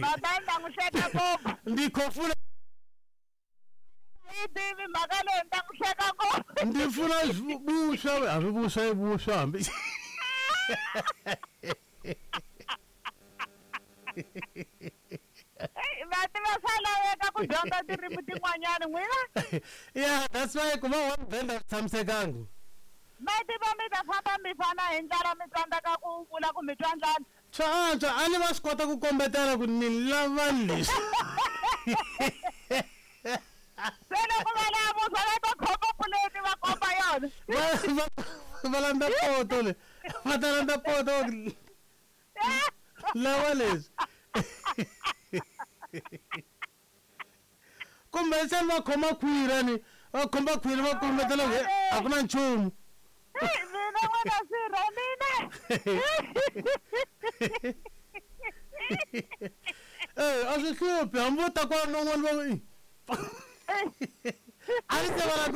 Mhaka yi ta n'wi hleka ngopfu. Ndi khofula. Yi tivi mhaka leyi ni ta n'wi hleka ngopfu. Ndi funa vuswa hambi vuswa i vuswa hambi. Va tiva swa laveka ku dyondza tindzimi tin'wanyana n'wina. Yeah, that's why ku va one band a swi tshamisekangi. Ma tiva mi ta famba mi fana hi ndlala mi tsandzeka ku vula ku mi twa ndlala. Swa antswa a ni va swi kota ku kombetela ku ni lava leswi. Se loko va lava vuswa va ta khoma puleti va komba yona. Va landza poto le. Va ta landza poto va ku lava leswi. Kumbexani va khoma khwiri a ni va khoma khwiri va kombetela ku a ku na nchumu. Mina n'wana sirha mina. Eh, a swi hluphi hambi vo ta kwala non'wani va ku a ni se va la ku.